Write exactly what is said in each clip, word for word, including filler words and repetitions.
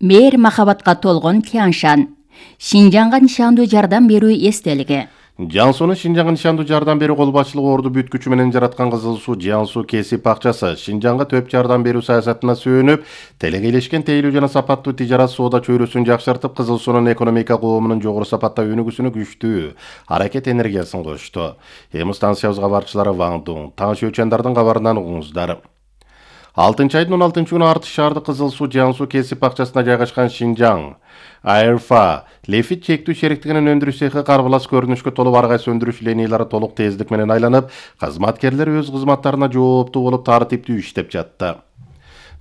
Мээр махабатка толгон Тяншан. Шинжаңга нишандуу жардам берүү эстелиги. Жансуунун Шинжаңга нишандуу жардам берүү кол башчылыгы орду бүт күчү менен жараткан Кызыл Суу Жансуу кесип акчасы Шинжаңга төп жардам берүү саясатына сүйөнүп, телекейлешкен тейлүү жана сапаттуу тижарат соода чөйрөсүн жакшыртып, Кызыл Суунун экономика коомунун жогору сапатта өнүгүүсүнө күчтүү аракет энергиясын кошту. Эми станциябызга барчылары Ван Дун, Таң Шөчөндөрдүн кабарынан угуңуздар. алтынчы айдын он алтынчы күнү Артыш шаардык Кызыл Суу Жансуу кесип акчасына жайгашкан Шинжаң Айрфа лефит чектүү шериктигинин өндүрүш цехи карбалас көрүнүшкө толуп ар кайсы өндүрүш линиялары толук тездик менен айланып, кызматкерлер өз кызматтарына жооптуу болуп тартиптүү иштеп жатты.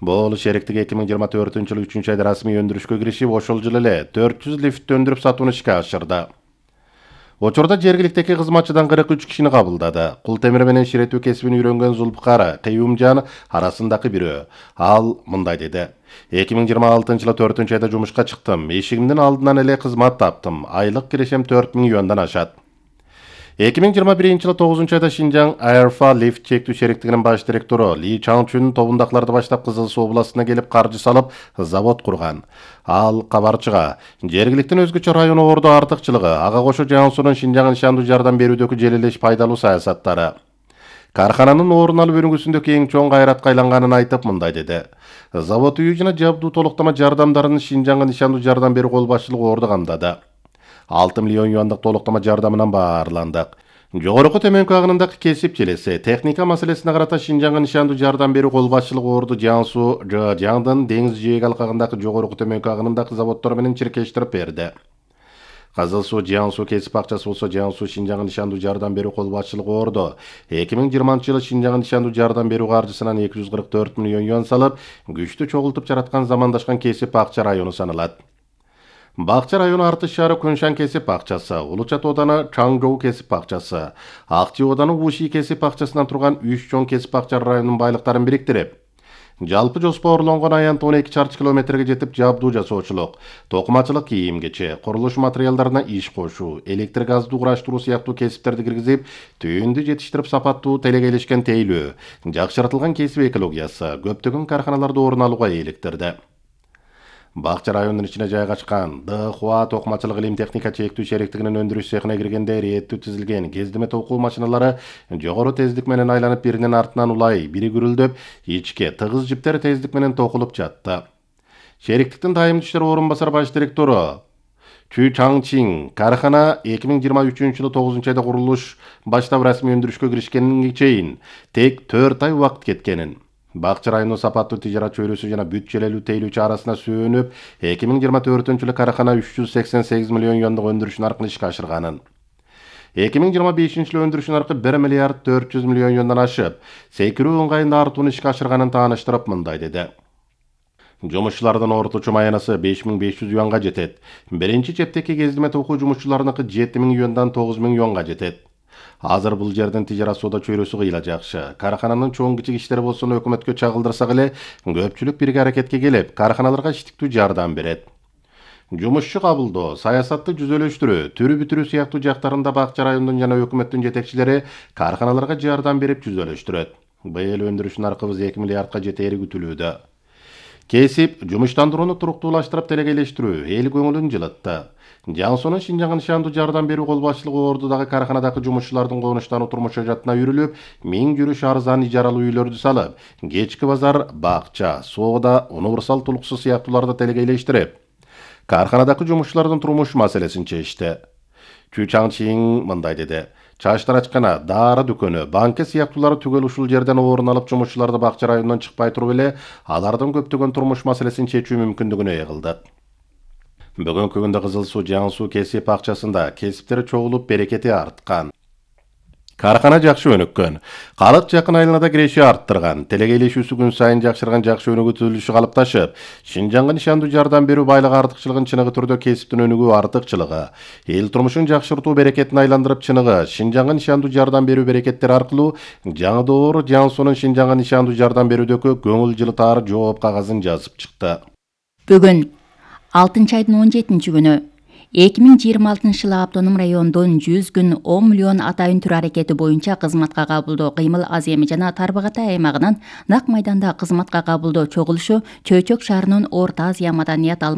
Бул шериктик эки миң жыйырма төртүнчү жылы үчүнчү айда расмий өндүрүшкө киришип, ошол жылы эле төрт жүз лифт өндүрүп сатууну ишке ашырды. Учурда жергиликтеги кызматчыдан кырк үч кишини кабылдады. Кул темир менен ширетүү кесибин үйрөнгөн Зулпкар Кыюмжан арасындагы бирөө. Ал мындай деди: эки миң жыйырма алтынчы жылы төртүнчү айда жумушка чыктым. Эшигимдин алдынан эле кызмат таптым. Айлык кирешем төрт миң юандан ашат. эки миң жыйырма биринчи жылы тогузунчу айда Шинжаң Айрфа лифт чектүү шериктигинин баш директору Ли Чаңчүн тобундакыларды баштап Кызыл Суу областына келип каржы салып завод курган. Ал кабарчыга жергиликтин өзгөчө району орду артыкчылыгы, ага кошо Жансуунун Шинжаңга нишандуу жардам берүүдөгү желелеш пайдалуу саясаттары, кархананын орун алып өнүгүүсүндөгү эң чоң кайратка айланганын айтып мындай деди: завод үй жана жабдуу толуктама жардамдарын Шинжаңга нишандуу жардам берүү кол башчылыгы орду камдады. алты миллион юандык толуктама жардамынан баарландык. Жогорку төмөнкү агынындагы кесип желеси, техника маселесине карата Шинжаңга нишандуу жардам берүү кол башчылыгы орду Жансуу Жаңдын деңиз жээги алкагындагы жогорку төмөнкү агынындагы заводдор менен чиркештирип берди. Кызыл Суу Жансуу кесип акчасы болсо Жансуу Шинжаңга нишандуу жардам берүү кол башчылыгы орду эки миң жыйырманчы жылы Шинжаңга нишандуу жардам берүү каржысынан эки жүз кырк төрт миллион юан салып, күчтүү чогултуп жараткан замандашкан кесип акча району саналат. Бакча району Артыш шаары Көншан кесип акчасы, Улучат ооданы Чаңжоу кесип акчасы, Акчы ооданы Уши кесип акчасынан турган үч чоң кесип акча районунун байлыктарын бириктирип, жалпы жоспорлонгон аянт он эки чарчы километрге жетип, жабдуу жасоочулук, токумачылык, кийим-кече, курулуш материалдарына иш кошуу, электр газды кураштыруу сыяктуу кесиптерди киргизип, түйүндү жетиштирип сапаттуу телекейлешкен тейлөө, жакшыртылган кесип экологиясы көптөгөн карханаларда орун алууга иликтирди. Бакча районунун ичине жайгашкан Д Хуа токумачылык илим техника чектүү шериктигинин өндүрүш цехине киргенде реттүү тизилген кездеме токуу машиналары жогору тездик менен айланып, биринин артынан улай, бири күрүлдөп, ичке тыгыз жиптер тездик менен токулуп жатты. Шериктиктин дайым иштер орун басар баш директору Чү Чаңчин кархана эки миң жыйырма үчүнчү жылы тогузунчу айда курулуш баштап расмий өндүрүшкө киришкенге чейин тек төрт ай убакыт кеткенин, Бакча районунун сапаттуу тижарат чөйрөсү жана бүт желелүү тейлүүчү арасына сүйөнүп, эки миң жыйырма төртүнчү жылы кархана үч жүз сексен сегиз миллион юандык өндүрүш наркын ишке ашырганын, эки миң жыйырма бешинчи жылы өндүрүш наркы бир миллиард төрт жүз миллион юандан ашып, секирүү ыңгайында артууну ишке ашырганын тааныштырып мындай деди: жумушчулардын орточо маянасы беш миң беш жүз юанга жетет. Биринчи чептеки кездеме токуу жумушчуларыныкы жети миң юандан тогуз миң юанга жетет. Азыр бул жердин тижарат соода чөйрөсү кыйла жакшы. Кархананын чоң кичик иштери болсо өкмөткө чагылдырсак эле, көпчүлүк бирге аракетке келип, карханаларга иштиктүү жардам берет. Жумушчу кабылдоо, саясатты жүзөлөштүрүү, түрү бүтүрүү сыяктуу жактарында бакча районунун жана өкмөттүн жетекчилери карханаларга жардам берип жүзөлөштүрөт. Быйыл өндүрүш наркыбыз эки миллиардка жетери күтүлүүдө. Кесип, жумуштандырууну туруктуулаштырып телекейлештирүү эл көңүлүн жылытты. Жансуунун Шинжаңга нишандуу жардам берүү кол башчылыгы ордудагы карханадагы жумушчулардын конуштануу турмуш жадына үйрүлүп, миң жүрүш арзан ижаралуу үйлөрдү салып, кечки базар, бакча, соода, универсал тулуксу сыяктууларды телекейлештирип, карханадагы жумушчулардын турмуш маселесин чечти. Чү Чаңчин мындай деди: чачтарачкана, дары дүкөнү, банка сыяктуулары түгөл ушул жерден орун алып, жумушчуларды бакча районунан чыкпай туруп эле алардын көптөгөн турмуш маселесин чечүү мүмкүндүгүнө ээ кылдык. Бүгүнкү күндө Кызыл Суу Жансуу кесип акчасында кесиптери чогулуп, берекети арткан. Кархана жакшы өнүккөн, калык жакын айланада киреши арттырган, телекейлешүүсү күн сайын жакшырган, жакшы өнүгүү түзүлүшү калыпташып, Шинжаңга нишандуу жардам берүү байлык артыкчылыгын чыныгы түрдө кесиптин өнүгүү артыкчылыгы, эл турмушун жакшыртуу берекетин айландырып чыныгы Шинжаңга нишандуу жардам берүү берекеттери аркылуу жаңы Жансуунун Шинжаңга нишандуу жардам берүүдөгү көңүл жылытаар жооп кагазын жазып чыкты. Бүгүн алтынчы айдын он жетинчи күнү эки миң жыйырма алтынчы жылы автоном райондон жүз күн он миллион атайын түр аракети боюнча кызматка кабылдоо кыймыл аз эми жана Тарбагатай аймагынан Нак майданда кызматка кабылдоо чогулушу Чөйчөк шаарынын Орто Азия маданият